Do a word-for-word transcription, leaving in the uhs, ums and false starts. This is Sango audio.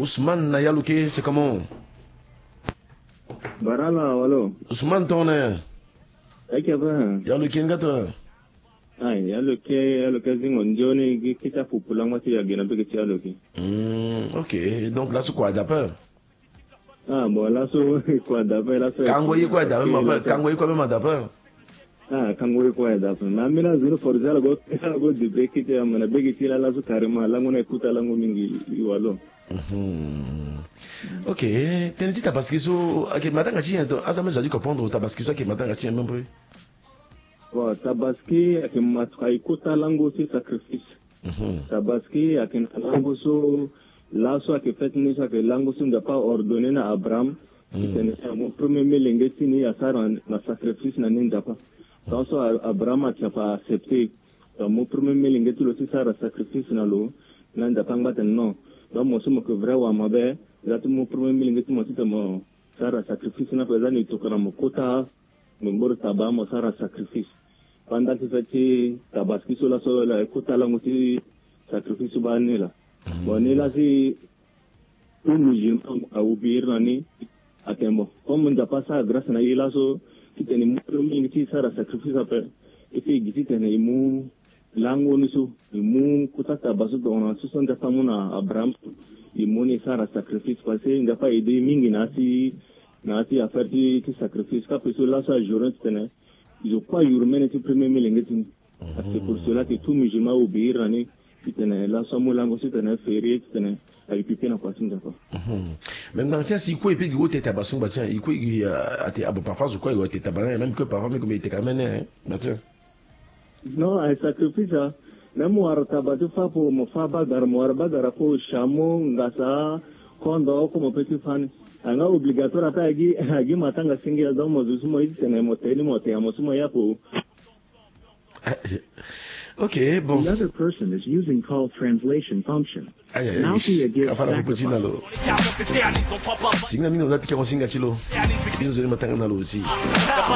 Ousmane na yalo ke, c'est comment? Barala walo. Ousmane tongana ya? Ake ape. Yalo ke nga to? Ai, yalo ke, yalo ke zingo nzoni gi kita pupu lango ti ya gena bege ti yalo ke. Hmm, ok. Donc laso kua dape? Ah bon, laso kua dape, laso kango ye kua dape ma pe, kango ye kua mema dape. Ah, kango ye kua dape. Ma mina zunu forza la go, la go di bege ti ya mana bege ti la laso carrément lango na ekuta lango mingi iwalo. Mhm. Ok. Tene ti tabaski so ake matanga ti nyen to? Azo ame za di comprendre tabaski so ake matanga ti nyen même peu. Bon, tabaski ake matuka ekota lango ti sacrifice. Mhm. Tabaski ake na lango so laso ake fête ni so ake lango so Nzapa ordonné na Abraham. Mhm. Titene si amu premier melenge ti ni asara na sacrifice na ni Nzapa. Tant so A-, Abraham ake afa accepté. Donc mo premier melenge ti lo ti sara sacrifice na lo. Na Nzapa angba tene non. Donc mo so mo ke vrai wa mabe. Za ti mo premier melenge ti mo titene mo sara sacrifice na pe za ni tokana mo kota. Mo mboro taba mo sara sacrifice. Pendant ti fête ti tabaski so laso la ekota lango ti sacrifice so baa ni la. Bon ni la si tout musulman a obéir na ni. Atene bon, comme Nzapa asara grâce na e laso titene e mu mingi ti sara sacrifice ape. E si e gi titene e mu lango ni so, e mu kota taba so tongana so so Nzapa amu na Abraham so. E mu ni e sara sacrifice parce que Nzapa a aidé e mingi na ya ti, na ya ti affaire ti, ti sacrifice. Kape so laso ajourné titene zo kue ayuru mene ti premier melenge ti ni. C'est pour cela que tout musulman a obéir na ni. Titene laso amu lango so titene férié titene aye pipe na kua ti Nzapa. Mhm. Mais ngbanga ti nyen si e kue e pe gi wo te taba so ngba ti nyen e kue e gi, ah, ate abo parfois zo kue aye wo te taba na nyen même que parfois mbi gue mbi e teka mene, hein, ngba ti nyen? Non, aye sacrifice ah. Même mo wara taba ti fâ apo mo fâ bagara, mo wara bagara apo chameau, ngasa, kondo, oko mo pe ti fâ ni. Anga obligatoire ape agi, agi matanga singila donc mo zo so mo ye titene mo te ni mo te ya mo so mo ye apo. Ok, bon. The other person is using call translation function. Aïe, aïe, aïe. Afa na popo ti na lo. Singa mingi lo za pikango singa ti lo. Bino nzoni matanga na lo aussi.